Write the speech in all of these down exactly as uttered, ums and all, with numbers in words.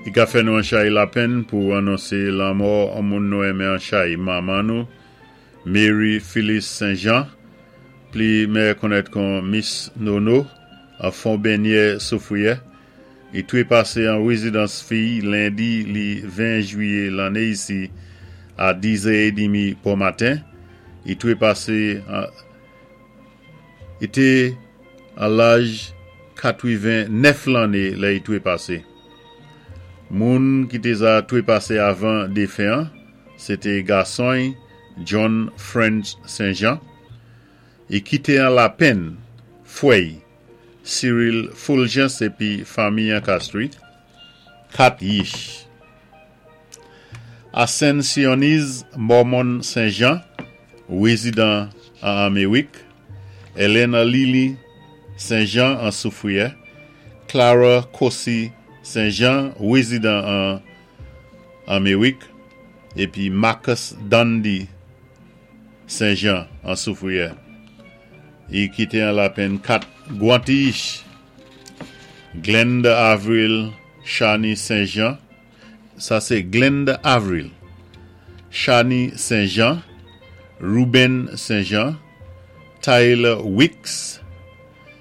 I ka fè nou an chay lapenn pou anonsé lanmò an moun nou enmen an chay manman nou, Mary Phyllis Saint-Jean, pli meyè konnèt kon Miss Nono, an Fon Benyè Soufriyè. I twépasé an wézidans fiy lendi li ven jwiyé lanné isi a dizè édmi pou maten. I twépasé i té an laj katwiven nèf lanné lè i twépasé. Moun ki té za twépasé avan défen an, sé té gason John French Saint-Jean, i kité an lapenn fwè Cyril Fulgence épi fanmi an Castries, kat yich. Ascensioniz Mormon Saint-Jean, wézidan an Améwik, Elena Lily Saint-Jean an Soufriyè, Clara Kossi Saint-Jean, wézidan an Améwik, épi Marcus Dundee Saint-Jean an Soufriyè. I kité an lapenn kat gwan ti-yich. Glenda Avril Chani Saint-Jean, sa sé Glenda Avril, Chani Saint-Jean, Ruben Saint-Jean, Tyler Wicks,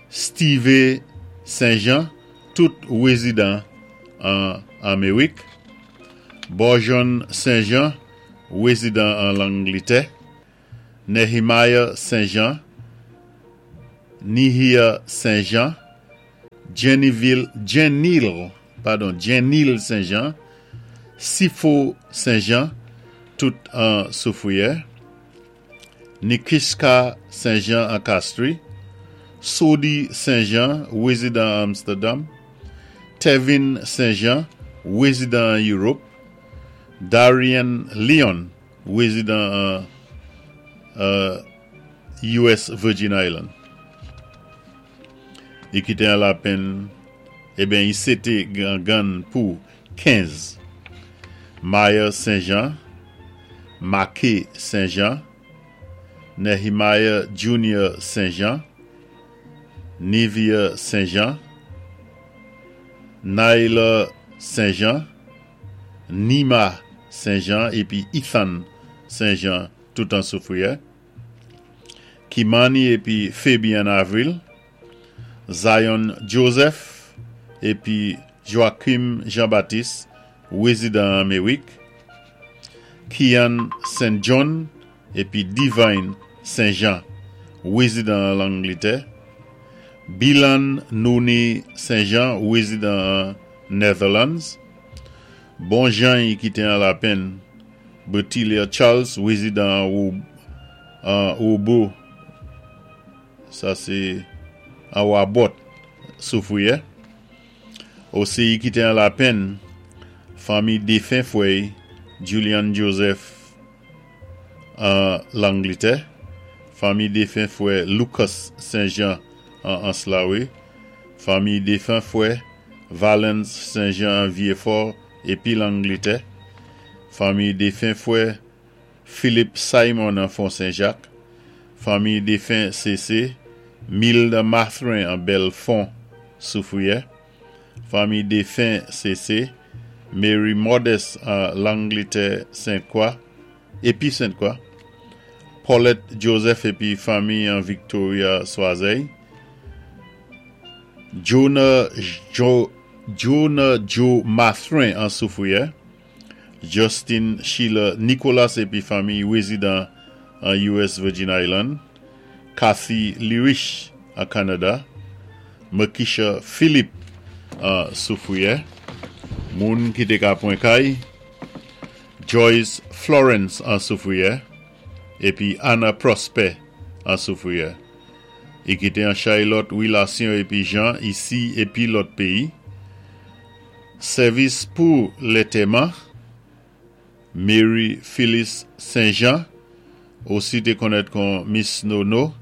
Steve Saint-Jean, tout wézidan an Améwik, Bourgeon Saint-Jean, wézidan an Langlitè, Nehemiah Saint-Jean, Nihia Saint-Jean, Jennyville, Jenil, padon, Jenil Saint-Jean, Sifo Saint-Jean, tout an Soufriyè, Nikiska Saint-Jean an Castries, Sodi Saint-Jean, wézidan Amsterdam, Tevin Saint-Jean, wézidan an Europe, Darian Leon, wézidan an uh, U S Virgin Island. I kité an lapenn, ében, i sé té gangan pou kenz. Maya Saint-Jean, Make Saint-Jean, Nehemiah Junior Saint-Jean, Nivea Saint-Jean, Naila Saint-Jean, Nima Saint-Jean, épi Ethan Saint-Jean, tout an Soufriyè. Kimani épi Fabian Avril, Zion Joseph, épi Joachim Jean-Baptiste, wézidan Améwik, Kian Saint John, épi Divine Saint-Jean, wézidan Langlitè, Bilan Nouni Saint-Jean, wézidan Netherlands, Bon Jean i kité an lapenn, Bertilia Charles, wézidan an Obo, sa sé an Wabot, Soufriyè. Osi i kité an lapenn, fanmi défen fwè Julian Joseph an Langlitè, fanmi défen fwè Lucas Saint-Jean an Anse-la-Raye, fanmi défen fwè Valence Saint-Jean an Vieux-Fort épi Langlitè, fanmi défen fwè Philippe Simon an Fond Saint-Jacques, fanmi défen C C, Milda Mathrin an Belfond Soufriyè, fanmi défen C C, Mary Modeste an Langlitè Sainte-Croix, épi Sainte-Croix, Paulette Joseph épi fanmi an Victoria Soiseil, Jonah Joe Jonah Joe Mathrin an Soufriyè, Justin Sheila Nicolas épi fanmi wézidan an U S Virgin Island, Kathy Lirich an Canada, Makisha Philippe an Soufriyè, moun ki té ka pwan kay, Joyce Florence an Soufriyè, épi Anna Prosper an Soufriyè. I kité an chay lòt wilasyon épi jan isi épi lòt péyi. Sèvis pou lantèman, Mary Phyllis Saint-Jean, osi té konnèt kon Miss Nono,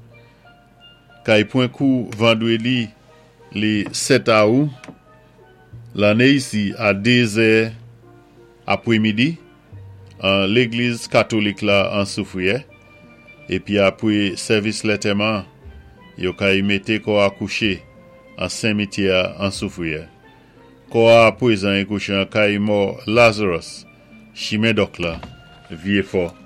kay pwan kou vandwédi li sèt awou, lanné isi a dézè apwémidi, an légliz katolik la an Soufriyè, épi apwé sèvis lantèman, yo kay mété kò a kouché an simityè an Soufriyè. Kò-a apwézan é kouché an Kay Mò Lazarus, Chimen Dòk la, Vyéfò.